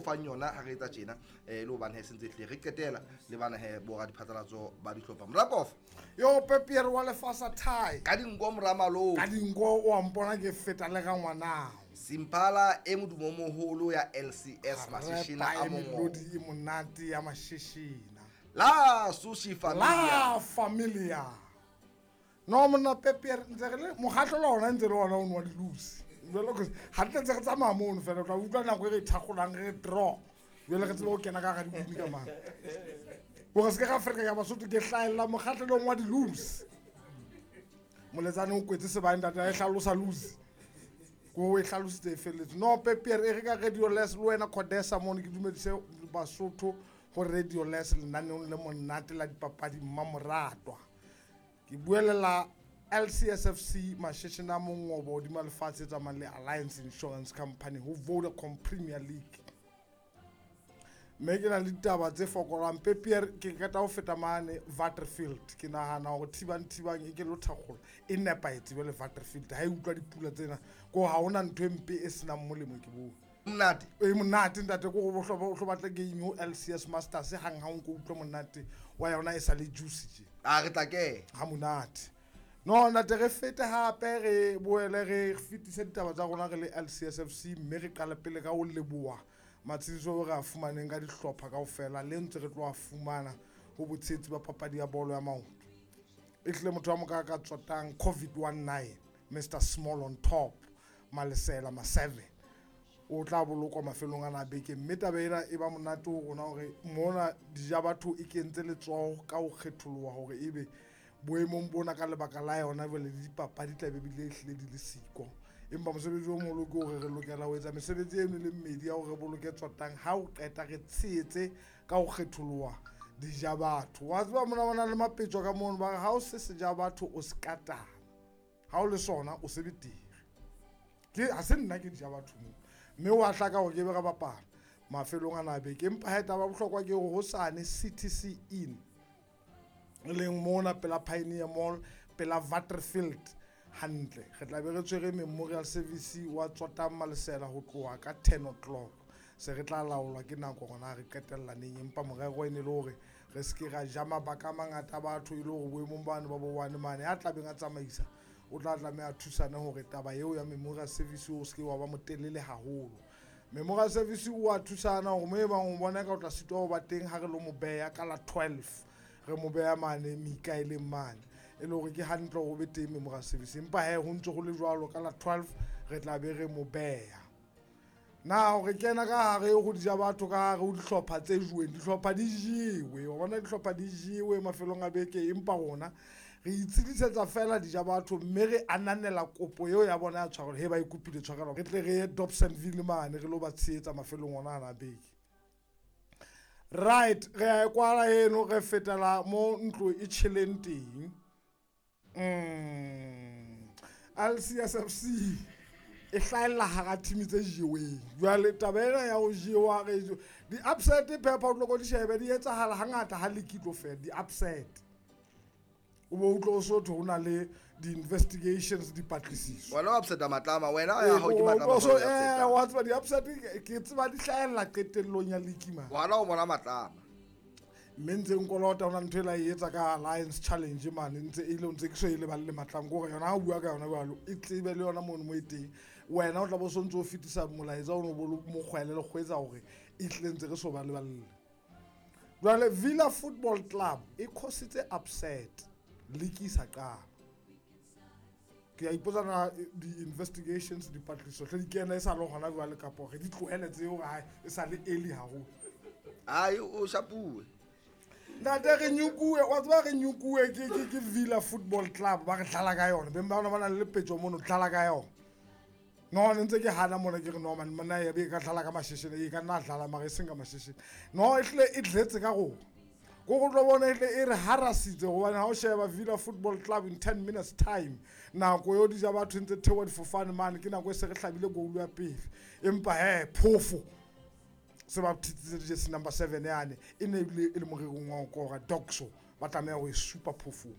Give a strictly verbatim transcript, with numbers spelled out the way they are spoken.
fang yona ha re etsa tjena eh le hobane he sentse hle re qetela le bana he bo ra diphatlalatso ba dihlopha Morakof yo Pepier wa lefasa thai ka dinko moramalo ka dinko o a mpona ke feta le ga ngwana Simpala e modumo moholo ya L C S Mashishina a mongo e monate ya Mashishina la Sushi Familia la Familia no monna Pepier ntse re le mokgatlo la ona ntse le ona o nwa dilusi jalo ke ha tle tse re tsamaya mono fela o tla utlwa nako e re thakgolang re draw jalo re tsebe go kena ka ga dibini ka mang gore se ke ga Afrika ya Basotho ke hlaella mokgatlelong wa dilusi moletsane o kwetse sebane ntate a e hlalosa lusi ko e hlalositse e felletse no Pepier e re ka Radio Les le wena Codesa mono ke dumedise Basotho go Radio Les lenaneong le monate la dipapadi mmamoratwa ke buelela L C S F C Mashishina mongobo hodima lefatshe tsamayang le Alliance Insurance Company ho Vodacom Premier League mme ke na le ditaba tse fokolang Pepier ke qeta ho feta mane Waterfield ke nahana hore thibang thibang e ke lo thakgola e nepahetse jwale Waterfield ha e utlwa dipula tsena ko ha hona ntho e mpe e senang molemo ke bone monate e monate ntate ko go hloba o batla game ho L C S Masters hang ha o nko utlwa monate wa yona e sa le juice tje a re tla ke ha monate no ntate re fete hape re boele re fetise ditaba tsa rona re le L C S F C mme re qale pele ka ho leboha matshiso re a fumaneng ka dihlopha kaofela le ntse re tlo a fumana ho botshetsi ba papadi ya bolo ya maoto e hle motho wa moka ka tsotang COVID nineteen Mister Small on top Malesela ma seven o tla bolokwa mafelong ana a beke mme taba ena e ba monate ho rona hore mona dija batho e kentse letsoho ka ho kgetholoha hore ebe boemong bona ka lebaka la yona jwale le dipapadi tla be bile ehlile di le siko empa mosebetsi o moholo ke hore re lokela ho etsa mesebetsi eno le mmedi ya hore re boloke tsotang ha o qeta re tshehetse ka ho kgetholoha dija batho wa tseba mona bona le mapetjo ka mono ba re ha o se seja batho o se katana ha o le sona o se betere ke ha se nna ke dija batho mo mme wa hlaka hore ke be re bapala mafelong ana a beke empa ha taba bohlokwa ke hore hosane C T C Inn e leng mona pela Pioneer Mall pela Waterfield hantle re tla be re tshwere memorial service wa Tsotang Malesela ho tloha ka ten o'clock se re tla laolwa ke nako rona re qetella neng empa morero e ne le hore re se ke ra ja mabaka a mangata a batho e le hore boemong bano ba bo one mane ya tlabeng a tsamaisa o tla tlameha thusane hore taba eo ya memorial service o se ke wa ba motelele haholo memorial service o a thusana hore mo e bang o bona ka o tla sitwa ho ba teng ha re lo mo beha ka la twelve re mo beha mane Mikaeleng mane e le hore ke hantle hore o be teng memorial service empa he ho ntse ho le jwalo ka la twelve re tla be re mo beha na hore kena ka hare ho dija batho ka hare ho dihlopha tse juweng dihlopha di jewe wa bona dihlopha di jewe mafelong a beke empa rona re itshedisetsa fela dija batho mme re ananela kopo eo ya bona ya tshwarelo he ba e kopile tshwarelo re tle re ye Dobsonville mane re lo ba tshehetsa mafelong ona ana a beke right re a e kwala eno re fetela mo ntlo e tjheleng teng mm L C S F C e hlahella hara team tse jeweng jwale taba ena ya ho jewa re di-upset pepper o tlo ko di shebe di etsahala hangata ha league e tlo fela di-upset o bo utlwe o sotho ho na le di-investigations dipatlisiso wena o upseta matlama wena ya hao ke matlama so eh wa tseba di-upset ke tseba di hlahella qetellong ya league man wena o bona matlama mme ntse nkolota ona ntho e la e etsa ka Alliance Challenge mane ntse e le ntse ke so e leballe matlang gore yona ha o bua ka yona jwalo e tsebe le yona mono mo e teng wena o tla bo sontse o fetisa molaetsa o no bo mokgwele le kgwetsa hore e tlile ntse re so ba leballe jwale Villa Football Club e cause-itse upset league e sa qala ke a ipotsa na di-investigations dipatlisiso hle di kena e sa le hona jwale kapa re di tlohele tseo ha e sa le early haholo ai o shapuwe ntate re nyukuwe wa tseba re nyukuwe ke ke ke Villa Football Club ba re dlala ka yona beng ba bona ba na le lepetjo mono dlala ka yona no ne ntse ke hana mona ke re no man mona ya be ka dlala ka masheshene e ka nna dlala mara e seng ka masheshene no e hle e dletse ka rona ko go tlo bona e hle e re harasitse gobane ha o sheba Villa Football Club in ten minutes time nako eo dija batho ntse theoha difofane mane ke nako e se re hlabile goal ya pele empa he phofo se ba thitsitse jersey number seven yane e ne ebile e le morerong wa ho kora Doxo ba tlameha ho e supa phofong